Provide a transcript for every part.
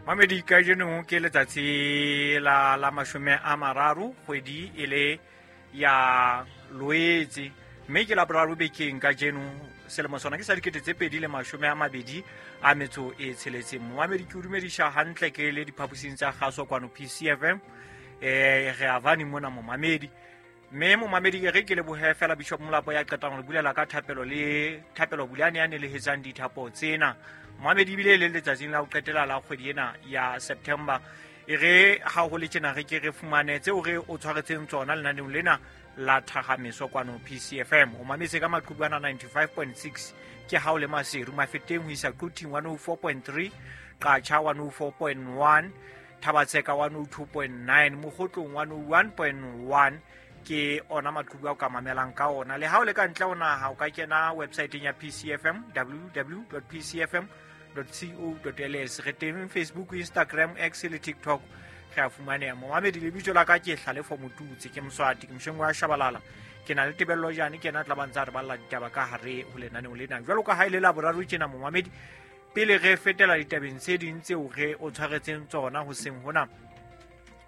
Mamedi, kajeno ke letsatsi la 30 kgwedi e le ya Loetse, mme ke la boraro bekeng kajeno. Selemo sona ke sa 2026. Momamedi, ke o dumedisa hantle ke le diphaposing tsa kgaso kwano PCFM. Re avane mona momamedi. Mme momamedi, e re ke lebohe fela Bishop Molapo ya qetang ho bulela ka thapelo le thapelo Bulane ya nelehetsang dithapo tsena. Momamedi, ebile le letsatsing la ho qetela la kgwedi ena ya September. E re ha ho le tjena re ke re fumane tseo re o tshwaretseng tsona lenaneong lena la Thahamiso kwano PCFM. O mametse ka maqhubu ana 95.6 ke ha o le Maseru, Mafeteng ho isa Quthing 104.3, Qacha 104.1, Thabatseka 102.9, Mokgotlong 101.1 ke ona maqhubu a o ka mamelang ka ona. Le ha o le ka ntle ho naha, o ka kena websiteng ya PCFM, www.pcfm.co.ls. Re teng Facebook, Instagram, X le TikTok, re a fumaneha. Momamedi, lebitso la ka ke Hlalefo Motutsi, ke Moswati, ke mosheng wa Shabalala. Ke na le Tebello Jane, ke yena a tla ba ntse a re balla ditaba ka hare ho lenaneo lena. Jwalo ka ha e le Laboraro tjena, momamedi, pele re fetela ditabeng tse ding tseo re o tshwaretseng tsona hoseng hona,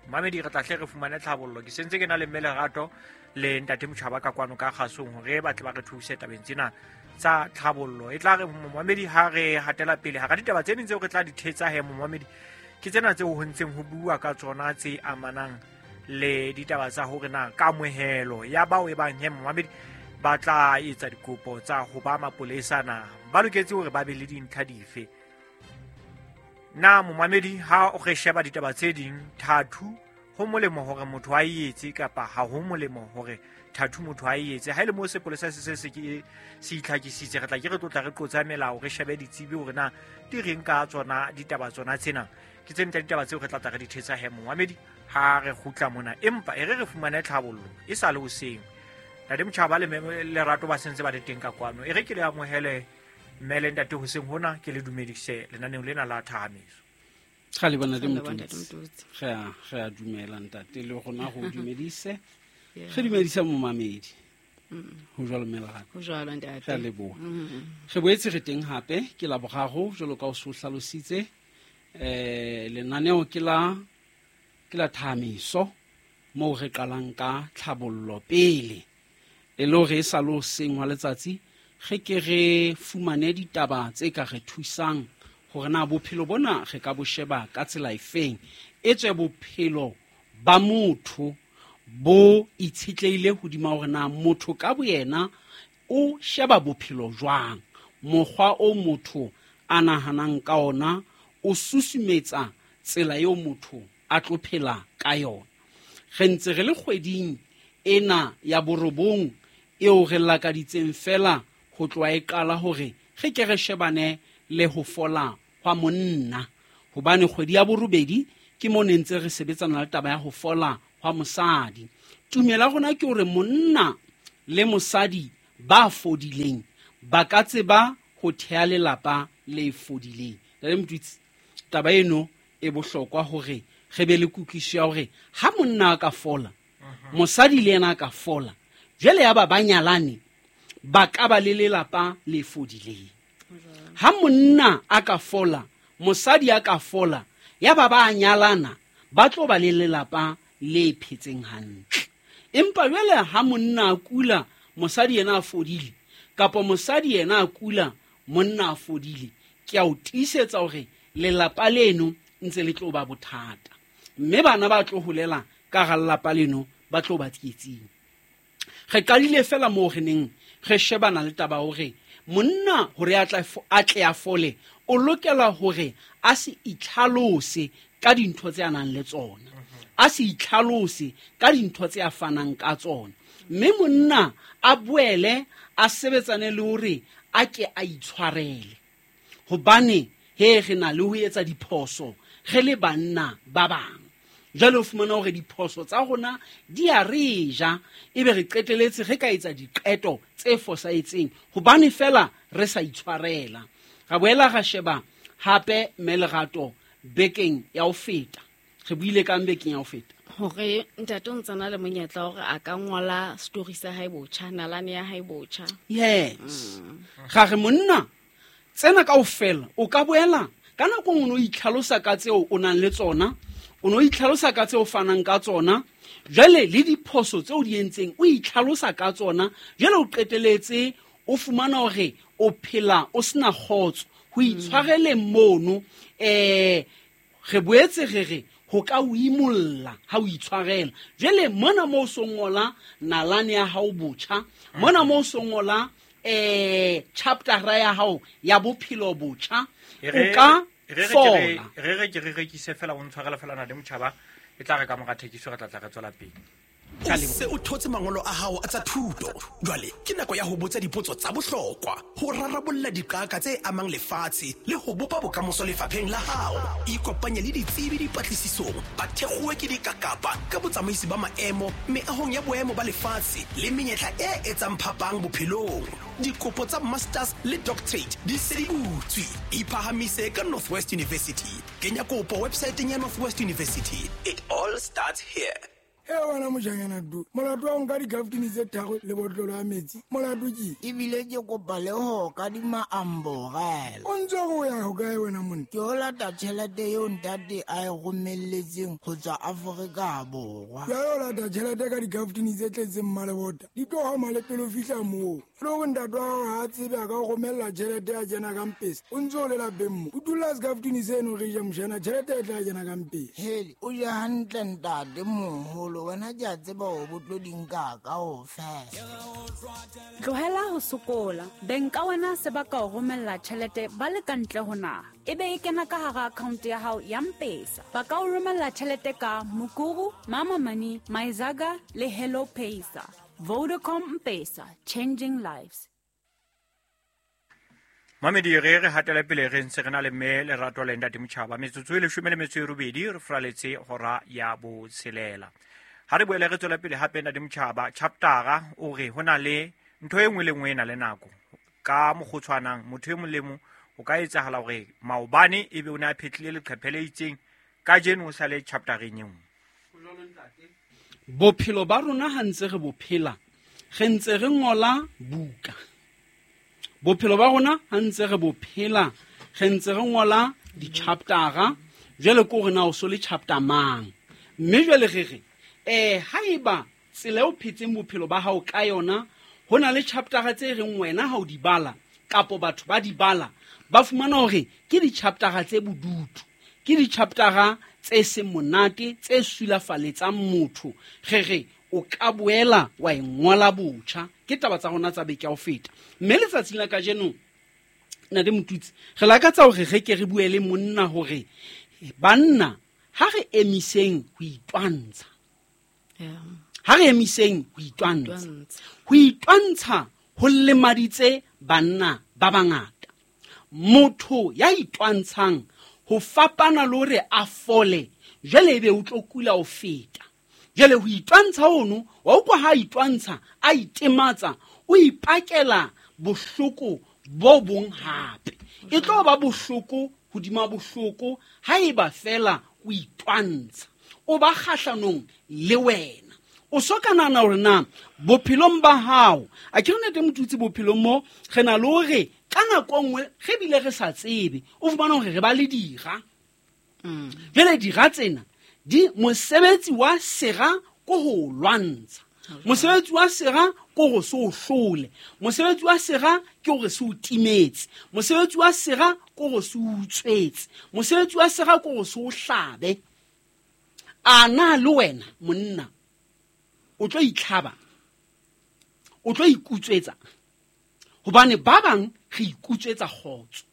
momamedi, re tla hle re fumane tlhabollo. Ke sentse ke na le mme Lerato le ntate Motjhaba ka kwano ka kgasong hore ba tle ba re thuse tabeng tsena tsa tlhabollo. E tla re momamedi ha re hatela pele hara ditaba tse ding tseo re tla di thetsa he, momamedi, ke tsena tseo ho ntseng ho bua ka tsona tse amanang le ditaba tsa hore na kamohelo ya bao e bang he, momamedi, ba tla etsa dikopo tsa ho ba mapolesa na ba loketse hore ba be le dintlha dife. Na momamedi, ha o re sheba ditaba tse ding, thathu ho molemo hore motho a e etse kapa ha ho molemo hore thathu motho a e etse? Ha e le moo sepolesa se se se ke se itlhakisitse, re tla ke re tlotla re qotsa melao, re shebe ditsebi hore na di reng ka tsona ditaba tsona tsena. Ke tse ntle ditaba tseo re tla tla re di thetsa he, momamedi, ha re kgutla mona. Empa e re re fumane tlhabollo e sa le hoseng. Ntate Motjhaba le Lerato ba sentse ba le teng ka kwano. E re ke le amohele mme le ntate hoseng hona, ke le dumedise lenaneong lena la Thahamiso. Ga le bona le Motutsi. Re a dumela ntate, le rona go dumedise. Re dumedisa momamedi. Ho jwalo mme Lerato. Ho jwalo ntate. Re a leboha. Re boetse re teng hape ke Laboraro jwalo ka o so hlalositse. Lenaneo ke la Thahamiso moo re qalang ka tlhabollo pele. E le hore e sa le hoseng hwa letsatsi re ke re fumane ditaba tse ka re thusang hore na bophelo bona re ka bo sheba ka tsela efeng. Etswe bophelo ba motho bo itshetlehile hodima hore na motho ka boyena o sheba bophelo jwang. Mokgwa o motho a nahanang ka ona o susumetsa tsela eo motho a tlo phela ka yona. Re ntse re le kgweding ena ya borobong eo re lakaditseng fela ho tloha e qala hore re ke re shebane le ho fola hwa monna, hobane kgwedi ya borobedi ke mo ne ntse re sebetsana le taba ya ho fola hwa mosadi. Tumelo ya rona ke hore monna le mosadi ba fodileng ba ka tseba ho thea lelapa le fodileng. Ntate Motutsi, taba eno e bohlokwa hore re be le kutlwisiso ya hore ha monna a ka fola, mosadi le yena a ka fola, jwale ya ba ba nyalane ba ka ba le lelapa le fodileng. Ha monna a ka fola, mosadi a ka fola, ya ba ba nyalana, ba tlo ba le lelapa le phetseng hantle. Empa jwale ha monna a kula, mosadi yena a fodile, kapa mosadi yena a kula, monna a fodile, ke a o tiisetsa hore lelapa leno ntse le tlo ba bothata. Mme bana ba tlo holela ka hara lelapa leno ba tlo ba tsietsing. Re qadile fela moo re neng re shebana le taba hore monna hore a tle a fole, o lokela hore a se itlhalose ka dintho tse a nang le tsona, a se itlhalose ka dintho tse a fanang ka tsona. Mme monna a boele a sebetsane le hore a ke a itshwarele, hobane he re na le ho etsa diphoso re le banna ba bang. Jwale o fumana hore diphoso tsa rona di a re ja, ebe re qeteletse re ka etsa diqeto tse fosahetseng hobane fela re sa itshwarela. Ra boela ra sheba hape mme Lerato bekeng ya ho feta. Re buile kang bekeng ya ho feta? Hore ntate o ntse na le monyetla hore a ka ngola story sa hae botjha, nalane ya hae botjha. Yes. Ga re monna tsena kaofela o ka boela Ka nako nngwe o no itlhalosa ka tseo o nang le tsona, o no itlhalosa ka tseo o fanang ka tsona, jwale le diphoso tseo di entseng o itlhalosa ka tsona, jwale o qeteletse o fumana hore o phela o sena kgotso. Ho itshwareleng mono, re boetse re re ho ka o imolla ha o itshwarela. Jwale mona moo o so ngola nalane ya hao botjha, mona moo o so ngola chaptera ya hao ya bophelo botjha, o ka fola. Re ke re rekise fela, o ntshwarela fela na le motjhaba, e tla re ka mora thekiso re tla tla re tswela pele. O se o thotse mangolo a hao a tsa thuto. Jwale ke nako ya ho botsa dipotso tsa bohlokwa, ho rarabolla diqaka tse amang lefatshe le ho bopa bokamoso lefapheng la hao. Ikopanye le ditsebi dipatlisisong, ba thekgowe ke dikakapa ka botsamaisi ba maemo meahong ya boemo ba lefatshe le menyetla e etsang phapang bophelong. Dikopo tsa masters le doctorate di se di butswe. Iphahamise ka Northwest University. Kenya kopo websaeteng ya Northwest University. It all starts here. E wena mojanyana du, molato wa nka dikaftini tse tharo le botlolo ya metsi, molato ke? Ebile ke kopa le ho kadima amborela. O ntse o ya hokae wena monna? Ke o lata tjhelete eo ntate a e romelletseng ho tswa Afrika Borwa. Jwale o lata tjhelete ka dikaftini tse tletseng mmalebota, di tlo hama le pele o fihla moo. Le hore ntate wa hao ha a tsebe a ka o romella tjhelete ya kena ka mpesa, o ntse o le lapeng mo. O dula sekaftini seno re ja mojana, tjhelete e tla kena ka mpesa. Hele, o je hantle ntate moholo, wena ke a tseba hore bo tlo di nka kaofela. Tlohela ho sokola. Beng ka wena se ba ka o romella tjhelete ba le ka ntle ho naha. Ebe e kena ka hara account ya hao ya M-Pesa. Ba ka o romella tjhelete ka Mukuru, Mama Money, Myzaga le Hello Pesa. Vodacom M-Pesa, changing lives. Mamedi re re hatela pele re ntse re na le mme Lerato le ntate Motjhaba. Metsotso e 18 re fraletse hora ya botshelela. Ha re boele re tswela pele hape ntate Motjhaba, chaptera o re ho na le ntho e nngwe le nngwe e na le nako. Ka mokgotshwanang motho e mong le mong o ka etsahala hore maobane ebe o ne a phetlile leqephe le itseng, kajeno o sale chaptereng e nngwe. Bophelo ba rona ha ntse re bo phela, re ntse re ngola buka. Bophelo ba rona ha ntse re bo phela, re ntse re ngola di-chaptera. Jwale ke hore na o so le chapter mang. Mme jwale re re, haeba tsela eo phetseng bophelo ba hao ka yona, ho na le chaptera tse reng wena ha o di bala, kapo batho ba di bala, ba fumana hore ke di-chaptera tse bodutu, ke di-chaptera tse seng monate, tse sulafaletsang motho. Re re o ka boela wa e ngola botjha. Ke taba tsa rona tsa beke ya ho feta. Mme letsatsing la kajeno, Ntate Motutsi, re lakatsa hore re ke re bue le monna hore banna ha re emiseng ho itwantsha. Ha re emiseng ho itwantsha. Ho itwantsha ho lemaditse banna ba bangata. Motho ya itwantshang ho fapana le hore a fole, jwale ebe o tlo kula ho feta. Jwale ho itwantsha hono, wa utlwa ha a itwantsha, a itematsa, o ipakela bohloko bo bong hape. E tlo ba bohloko hodima bohloko haeba fela o itwantsha. O ba kgahlanong le wena. O so ka nahana hore na bophelong ba hao, a ke re ntate Motutsi, bophelong mo re na le hore ka nako nngwe re bile re sa tsebe, o fumana hore re ba le dira. Jwale dira tsena di mosebetsi wa sera ko ho lwantsha. Mosebetsi wa sera ko ho se o hlole. Mosebetsi wa sera ke hore se o timetse. Mosebetsi wa sera ko ho se o utswetse. Mosebetsi wa sera ko ho se o hlabe. A na le wena monna o tlo itlhaba, o tlo ikutswetsa, hobane ba bang re ikutswetsa kgotso.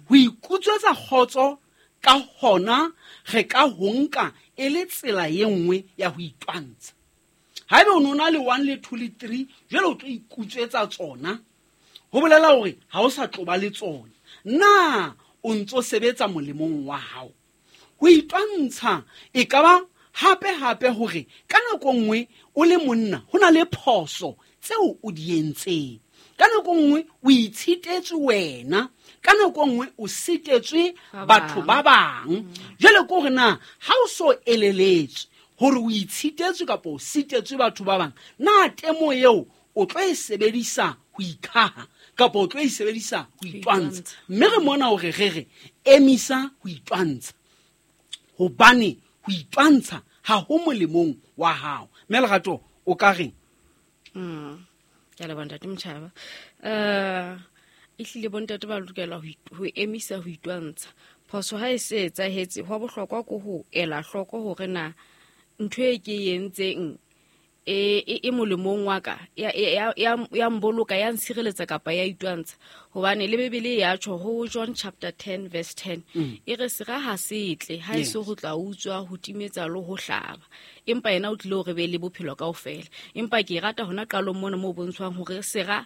Ho ikutswetsa kgotso ka hona re ka ho nka e le tsela e nngwe ya ho itwantsha. Haeba o no na le 1 le 2 le 3, jwale o tlo ikutswetsa tsona, ho bolela hore ha o sa tlo ba le tsona. Na o ntso sebetsa molemong wa hao? Ho itwantsha e ka ba hape hape hore ka nako nngwe o le monna ho na le phoso tseo o di entseng. Ka nako nngwe o itshitetswe wena, ka nako nngwe o sitetswe batho ba bang. Jwale ke hore na ha o so eleletswe hore o itshitetswe kapa o sitetswe batho ba bang, na temo eo o tlo e sebedisa ho ikhaha kapa o tlo e sebedisa ho itwantsha? Mme re mona hore re re Emisa ho itwantsha, hobane ho itwantsha ha ho molemong wa hao. Mme Lerato, o ka reng? Ke a leboha, Ntate Motjhaba. Ehlile bontate ba lokela ho emisa ho itwantsha. Phoso ha e se etsahetse, hwa bohlokwa ke ho ela hloko hore na ntho e ke e entseng e molemong wa ka, ya mboloka, ya ntshireletsa kapa ya itwantsha. Hobane le Bibele ya tjho ho John chapter 10 verse 10, e re sera ha se tle, ha e se ho tla utswa, ho timetsa le ho hlaba, empa yena o tlile hore be le bophelo kaofela. Empa ke e rata hona qalong mona moo bontshwang hore sera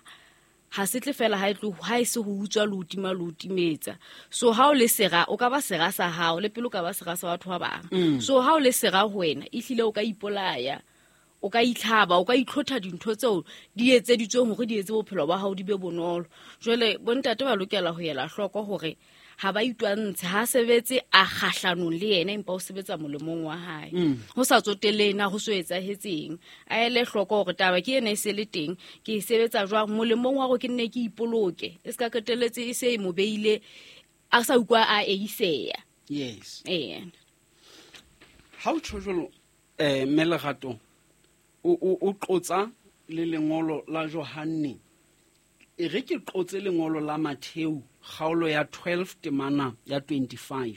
ha se tle fela, ha e tlo, ha e se ho utswa le ho tima le ho timetsa. So ha o le sera, o ka ba sera sa hao, le pele o ka ba sera sa batho ba bang. So ha o le sera ho wena, ehlile o ka ipolaya, o ka itlhaba, o ka itlhotha dintho tseo di etseditsweng hore di etse bophelo ba hao di be bonolo. Jwale bontate ba lokela ho ela hloko hore ha ba itwantshe, ha sebetse a kgahlanong le yena, empa o sebetsa molemong wa hae. Ho sa tsotelle na ho so etsahetseng, a ele hloko hore taba ke ena e se le teng, ke e sebetsa jwang molemong wa hore ke nne ke ipoloke, e se ka qetelletse e se e mo beile a sa utlwa a eiseya. Ee. Ha o tjho jwalo, mme Lerato, o qotsa le lengolo la Johanne. E re ke qotse lengolo la Mattheu, kgaolo ya 12 temana ya 25.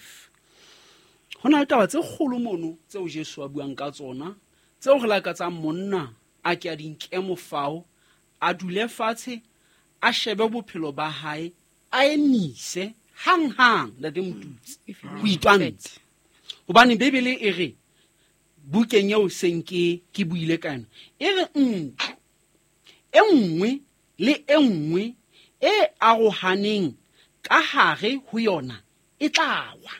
Ho na le taba tse kgolo mono tseo Jesu a buang ka tsona, tseo re lakatsang monna a ke a di nke mofao, a dule fatshe, a shebe bophelo ba hae, a emise hang-hang, Ntate Motutsi, ho itwantsha. Hobane Bibele e re, bukeng eo seng ke buile ka yona, e re ntlo e nngwe le e nngwe e arohaneng ka hare ho yona e tla wa.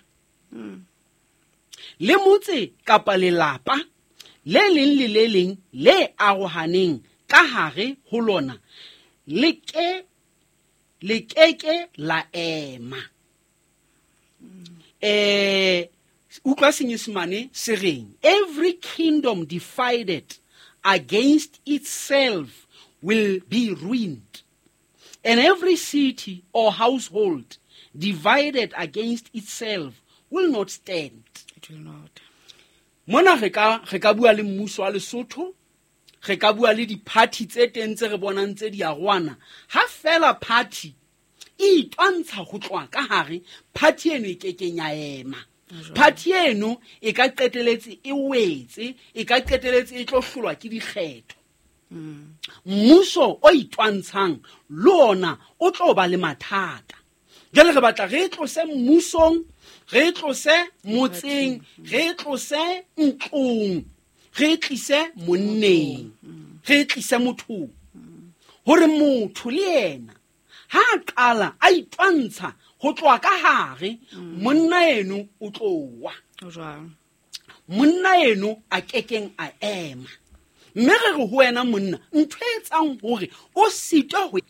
Le motse kapa lelapa le leng le le leng le arohaneng ka hare ho lona le ke la ema. Utlwa Senyesemane se reng? Every kingdom divided against itself will be ruined, and every city or household divided against itself will not stand. It will not. Mona re ka bua le mmuso wa Lesotho, re ka bua le di-party tse teng tse re bonang tse di arohana. Ha fela party e itwantsha ho tloha ka hare, party eno e kekeng ya ema. Party eno e ka qeteletse e wetse, e ka qeteletse e tlo hlolwa ke dikgetho. Mmuso o itwantshang le ona o tlo ba le mathata. Jwale re batla re tlose mmusong, re tlose motseng, re tlose ntlong, re tlise monneng, re tlise mothong. Hore motho le yena ha a qala a itwantsha ho tloha ka hare, monna eno o tlo wa. Monna eno a kekeng a ema. Mme re re ho wena monna, ntho e etsang hore o sitwe